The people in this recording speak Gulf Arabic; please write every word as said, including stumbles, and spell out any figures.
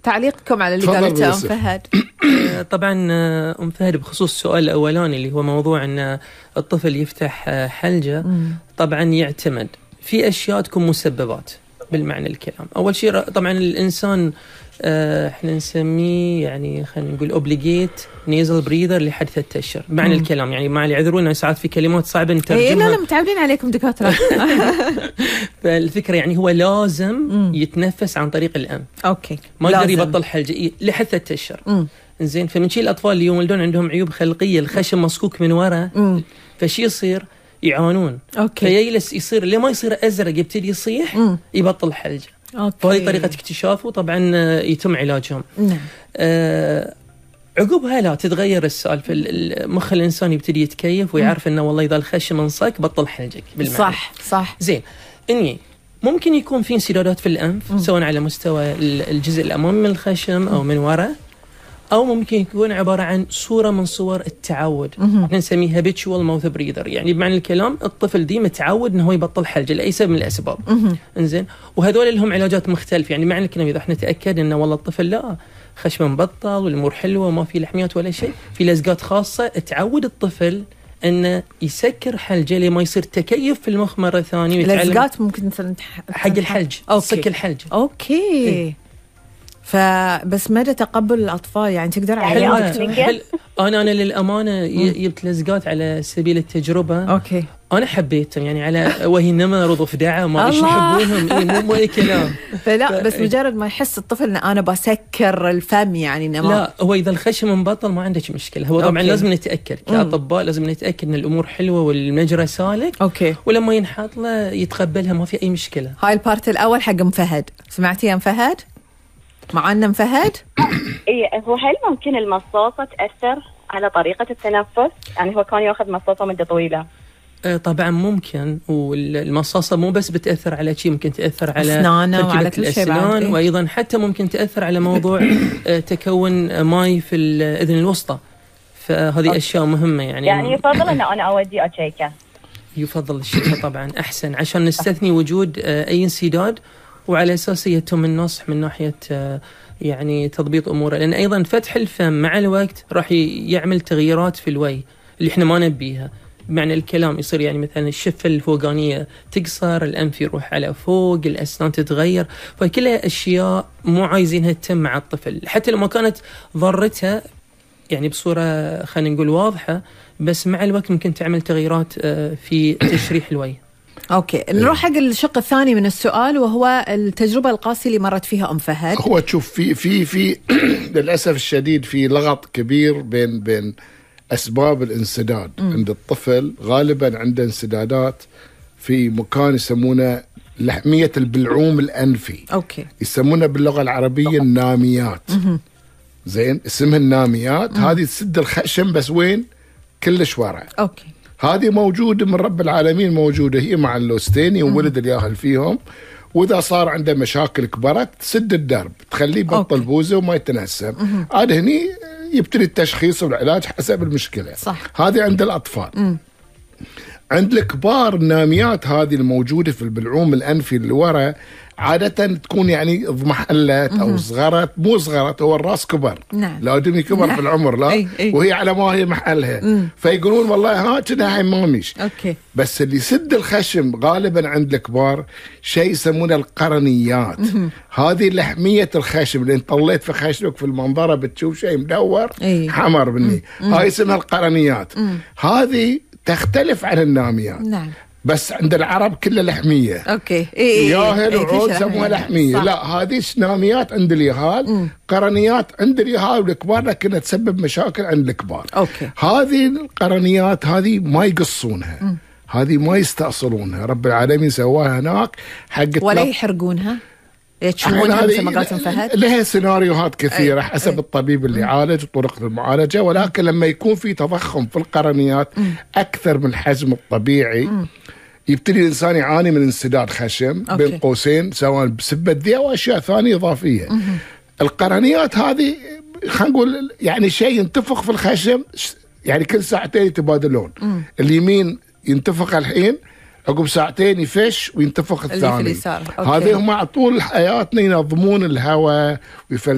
تعليقكم على اللي قالته أم فهد. طبعا أم فهد بخصوص السؤال الأولاني اللي هو موضوع أن الطفل يفتح حلجة، طبعا يعتمد في أشياء تكون مسببات بالمعنى الكلام. أول شيء طبعا الإنسان احنا نسميه يعني خلينا نقول اوبليجيت نيزل بريذر لحد ثلاثة اشهر بمعنى مم. الكلام، يعني مع اللي يعذرونا ساعات في كلمات صعبه نترجمها. اي لا لا متعودين عليكم دكاتره. فالفكره يعني هو لازم مم. يتنفس عن طريق الانف. اوكي ما يقدر يبطل حلجه لحد ثلاثة اشهر. زين، فمن شيء الاطفال اللي يولدون عندهم عيوب خلقيه، الخشم مسكوك من ورا، فشي يصير يعانون. اوكي فيجلس يصير لما يصير ازرق يبتدي يصيح مم. يبطل حلجه. فهذه طريقة اكتشافه، طبعا يتم علاجهم. نعم. آه عقبها لا تتغير السالفة، المخ الإنسان يبتدي يتكيف ويعرف إنه والله إذا الخشم انصك بطل حلجك بالمعنى. صح صح. زين، إني ممكن يكون في انسدادات في الأنف مم. سواء على مستوى الجزء الأمامي من الخشم أو من وراء، أو ممكن يكون عبارة عن صورة من صور التعود. احنا نسميها habitual mouth breather، يعني بمعنى الكلام الطفل دي متعود انه هو يبطل حلجة لأي سبب من الأسباب. انزين، وهذول لهم علاجات مختلفة. يعني معنى الكلام إذا احنا نتأكد انه والله الطفل لا خشمه مبطل والأمور حلوة وما في لحميات ولا شيء، في لزقات خاصة تعود الطفل انه يسكر حلجه لما يصير تكيف في المخ مرة ثانية. لزقات ممكن مثلا حق الحلج، سك الحلج. اوكي إيه؟ فبس مدى تقبل الأطفال يعني تقدر يعني على أنا أنا للأمانة جبت لزقات على سبيل التجربة. أوكي. أنا حبيتهم يعني على وهي نمر وضفدعة ما إيش يحبونهم. إيه مو مو أي كلام. فلا بس مجرد ما يحس الطفل إن أنا بسكر الفم يعني نما. لا هو إذا الخشم مبطل ما عندك مشكلة. هو طبعا أوكي. لازم نتأكد كأطباء، لازم نتأكد إن الأمور حلوة والمجرى سالك. أوكي. ولما ينحط له يتقبلها ما في أي مشكلة. هاي البارت الأول حق أم فهد. سمعتي يا أم فهد؟ معنا فهد؟ إيه، هو هل ممكن المصاصة تأثر على طريقة التنفس؟ يعني هو كان يأخذ مصاصة مدة طويلة. آه طبعا ممكن، والمصاصة مو بس بتأثر على شيء، ممكن تأثر على أسنانه وعلى كل شيء بعد. إيه؟ وأيضا حتى ممكن تأثر على موضوع آه تكون ماي في الأذن الوسطى. فهذه أوكي. أشياء مهمة يعني. يعني يفضل أن أنا أودي أتشيكه. يفضل الشيكة طبعا أحسن عشان نستثني وجود آه أي انسداد، وعلى أساس يتم النصح من ناحية يعني تضبيط أموره. لأن أيضا فتح الفم مع الوقت راح يعمل تغييرات في الوي اللي إحنا ما نبيها. بمعنى الكلام يصير يعني مثلا الشفة الفوقانية تقصر، الأنف يروح على فوق، الأسنان تتغير، فكلها أشياء مو عايزينها تتم مع الطفل. حتى لو ما كانت ضرتها يعني بصورة خلينا نقول واضحة، بس مع الوقت ممكن تعمل تغييرات في تشريح الوي. اوكي، نروح حق الشق الثاني من السؤال وهو التجربه القاسيه اللي مرت فيها ام فهد. هو تشوف في في في للاسف الشديد في لغط كبير بين بين اسباب الانسداد م. عند الطفل. غالبا عنده انسدادات في مكان يسمونه لحميه البلعوم الانفي. اوكي. يسمونه باللغه العربيه الناميات. م- زين، اسمها الناميات. هذه تسد الخشم بس وين؟ كلش ورا. اوكي. هذه موجودة من رب العالمين، موجودة هي مع اللوستين يولد الياهل فيهم. وإذا صار عنده مشاكل كبرت تسد الدرب، تخليه بطل بوزه وما يتنسم. عاد هني يبتدي التشخيص والعلاج حسب المشكلة. صح. هذه عند الأطفال. م. عند الكبار الناميات هذه الموجودة في البلعوم الأنفي اللي ورا عادة تكون يعني اضمحلت أو صغرت. مو صغرت، هو الراس كبر. نعم. لا دمي كبر في العمر لا. أي أي. وهي على ما هي محلها. مم. فيقولون والله ها كنا هيماميش. أوكي. بس اللي يسد الخشم غالبا عند الكبار شيء يسمونه القرنيات. مم. هذه لحمية الخشم اللي انت طليت في خشمك في المنظرة بتشوف شيء مدور أي. حمر بني. هاي اسمها القرنيات. مم. هذه تختلف عن الناميات. نعم. بس عند العرب كلها لحمية. اوكي. إيه ياهل إيه وعود سموها لحمية. لا هذه ناميات عند اليهال، قرنيات عند اليهال والكبار، لكنها تسبب مشاكل عند الكبار. اوكي. هذه القرنيات هذه ما يقصونها. م. هذه ما يستأصلونها، رب العالمين سواها هناك حق ولا يحرقونها. يتشونها مثل ما قالت فهد. لها سيناريوهات كثيرة. أي. حسب أي. الطبيب اللي يعالج وطرق المعالجة. ولكن لما يكون في تضخم في القرنيات م. أكثر من الحجم الطبيعي م. يبتدي الإنسان يعاني من انسداد خشم. أوكي. بين قوسين سواء بسبة ذي أو أشياء ثانية إضافية. م. القرنيات هذه خلينا نقول يعني شيء ينتفخ في الخشم، يعني كل ساعتين يتبادلون. م. اليمين ينتفخ الحين، عقب ساعتين يفش وينتفخ الثاني. اللي في اليسار. هذه هم طول حياتنا ينظمون الهواء ويفلترون